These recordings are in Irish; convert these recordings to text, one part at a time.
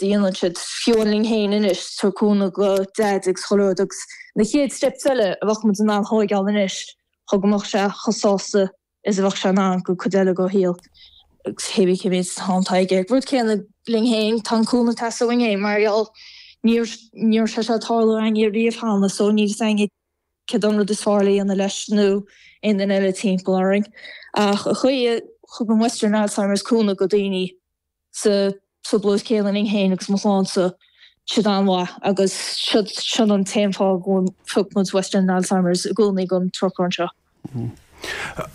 a dhéanann siad, fiú amháin linn féin anois, tabhairt cúnamh go Daid agus chuile rud agus na chéad steps eile a bheadh muid in ann thóigeáil anois chun go mbeadh sé chomh sásta is a bheadh sé in ann go cuid eile go shaol agus cé bith cé mhéad am atá aige. Rud céanna linn féin, tá an cúnamh ag teastáil uainn féin mar gheall ní ní raibh sé seo ag tarlú againne riamh cheana so níl fhios againne céard an rud is fearr le dhéanamh leis nó aon duine eile timpeall orainn. Ach an chaoi a thugann Western Alzheimer's cúnamh go daoine sa trioblóid céanna linn féin agus mo chlannsa, siad an-mhaith agus sin an t-aon fáth go phioc muid Western Alzheimer's i gcónaí don trucail anseo.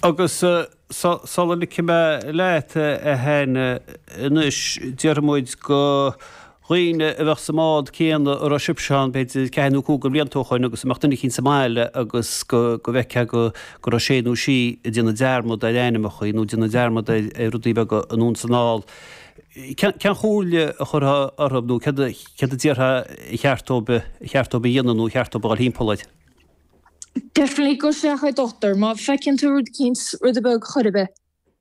Agus sula ligfidh mé leat, a Hannah, anois, déarfaidh muid go dhaoine a bheadh sa mbád céanna a raibh sibhse ann, b'fhéidir, ceathair nó cúig de bhlianta ó shoin agus a mbeadh duine eicínt sa mbaile agus go bhfeicfeá go raibh sé nó sí ag déanamh dearmad ar ainmneacha nó ag déanamh dearmad ar rudaí beaga anonn is anall. Cén chomhairle a chuirfeá orthu nó céard a déarfá a cheart dóibh a cheart dóibh a dhéanamh nó a cheart dóibh a dhul thimpeall air? Definitely gabh isteach ag dochtúir. Má feiceann tú rud eicínt, rud beag chor ar bith,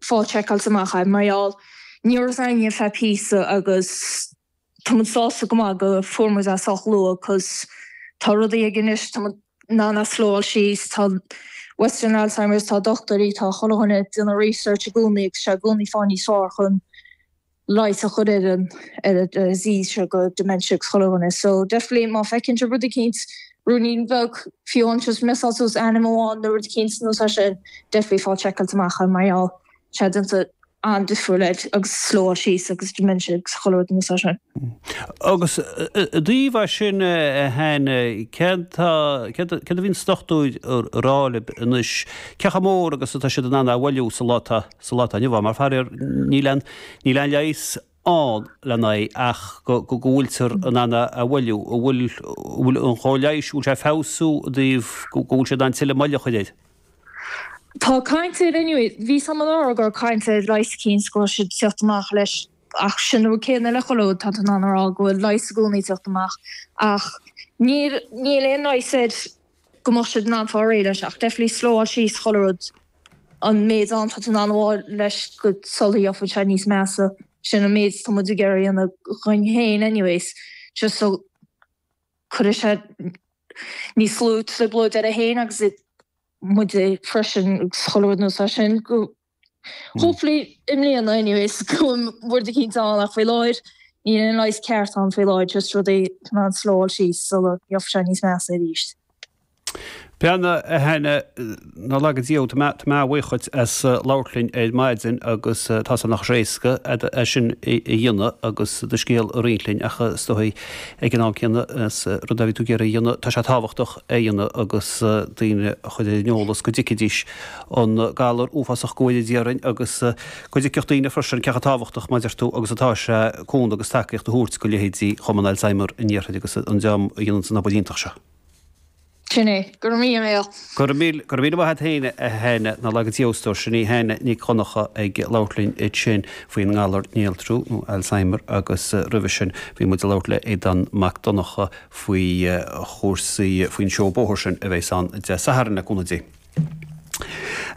fáil seiceáilte amach é mar gheall ní raibh fhios againne ar feadh píosa agus tá muid sásta go maith go fuair muid é sách luath cos tá rudaí ag anois tá muid in ann é slowáil síos tá Western Alzheimer's tá dochtúirí tá chuile dhuine ag déanamh research i gcónaí agus sé i gcónaí fáil níos fearr chun leigheas a chur ar an ar an disease seo go dementia agus chuile dhuine. So definitely má feiceann sibh rud eicínt, ruainnín beag, fiú amháin just missáil suas ainm amháin nó rud eicínt nó é sin, definitely fáil seiceáilte amach é mar gheall sé déanta an-difriúil air agus slowáil síos agus dementia agus chuile rud nó é sin. Agus i dtaobh é sin a Hannah, céard tá, céard a bhíonns dochtúir a rá libh anois, cé chomh mór agus atá siad in ann é a mhoilliú sa lá atá sa lá atá inniu ann, mar faraor níl aon, níl aon leigheas ann lena aghaidh ach go, go bhfuiltear in ann é a mhoilliú. An bhfuil, an bhfuil an chóir leighis, an bhfuil sé ag feabhsú i dtaobh go, go bhfuil siad in ann tuilleadh moille a chur air? Tá caint air anyway, bhí a fhios agam anuraidh go raibh caint ar leigheas eicínt go raibh siad ag teacht amach leis ach sin an rud céanna le chuile rud, tá tú in ann a rá go bhfuil leigheas i gcónaí ag teacht amach ach níl, níl aon leigheas air go mbeadh siad in ann fáil réidh leis ach definitely slowáil síos chuile rud an méid am tá tú in ann a fháil leis go sula gheobhaidh sé níos measa sin an méid tá muid ag iarraidh a dhéanamh dhúinn féin anyways just so cuirfidh sé níos lú trioblóid air féin agus muid freisin agus chuile rud nós é sin go Hopefully i mbliana anyways go bhfuil rud eicínt ann ach faoi láthair níl aon leigheas ceart ann faoi láthair just rudaí in ann slowáil síos sula gheobhaidh sé níos measa arís. Breathnaigh, a Hannah, ná laga Dia thú, tá mé, tá mé an-bhuíoch dhuit as labhairt linn ar maidin agus tá sé nach éasca é sin a dhéanamh agus do scéal a roinnt linn ach is dóigh ag an am céanna is rud a bhí tú ag iarraidh a dhéanamh, tá sé tábhachtach é a dhéanamh agus daoine a chur ar an eolas go dtuigfidís an galar uafásach go bhfóire Dia orainn agus go dtuigfeadh daoine freisin cé chomh tábhachtach, mar a deir tú, agus atá sé cúnamh agus tacaíocht a thabhairt go leithéidí Chumann Alzheimer an Iarthair agus an dream a dhéananns an obair iontach seo. Sin é. Go raibh míle maith. Go raibh míle, go raibh míle maith a't féin, a Hannah. Ná laga Dia thú a stór. Sin í Hannah Nic Dhonncha ag labhairt linn ansin faoin ngalar néaltrú nó Alzheimer agus roimhe sin bhí muid ag labhairt le Aodán Mac Donncha faoi chúrsaí, faoin seó bóthair sin a bheas ann Dé Sathairn le cúnamh Dé.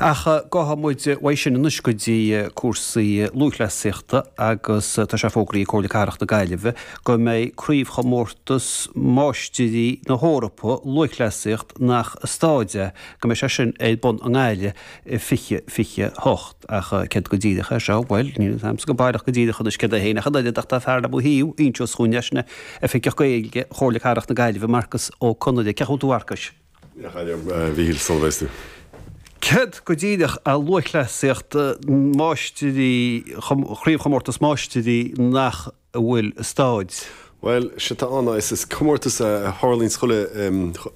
Ach gabhfaidh muid uaidh sin anois go dtí cúrsaí lúthchleasaíochta agus tá sé fógraithe ag Comhairle Cathrach na Gaillimhe go mbeidh Craobhchomórtas Máistirí na hEorpa Lúthchleasaíocht nach i staid é, go mbeidh sé sin ar bun i nGaillimh i 2028. Ach céard go díreach é seo? Bhuel, níl a fhios agamsa go baileach go díreach anois céard é féin ach an oiread ach tá fear le mo thaobh anseo chugainn leis, sin é Oifigeach Gaeilge Chomhairle Cathrach na Gaillimhe, Marcus Ó Conaire. Cén chaoi a bhfuil tú a Mharcais? A Mhíchíl, sula bhféas tú. Céard go díreach é lúthchleasaíocht máistirí, chraobhchomórtas máistirí nach bhfuil i staid? Bhuel, séard atá ann ná is comórtas a tharlaíonns chuile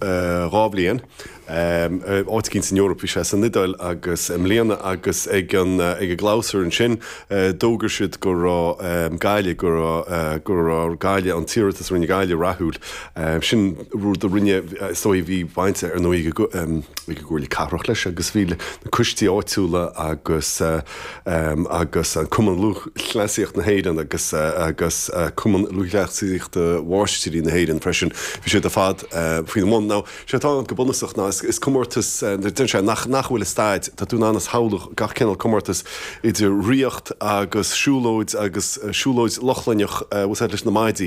2 bhliain, áit eicínt san Eoraip, bhí sé san Iodáil agus i mbliana agus ag an ag an gclabhsúr ansin d'fhógair siad go raibh Gaillimh, go raibh go raibh Gaillimh, an t-iarratas a rinne Gaillimh rathúil. Sin rud a rinne, is dóigh, bhí baint ar ndóigh ag an gComhairle Cathrach leis agus bhí na coistí áitiúla agus agus an Cumann Lúthchleasaíocht na hÉireann agus agus Cumann Lúthchleasaíocht. Rásaíochta Mháistrí na hÉireann freisin. Bhí siad ar fad faoina mbun. Now, sé atá ann go bunúsach ná is comórtas, deireann sé, nach nach bhfuil i staid, tá tú in ann a shamhlú gach cineál comórtas idir ríocht agus siúlóid agus siúlóid Lochlainnach, bhfuil a fhios agat, leis na maidí.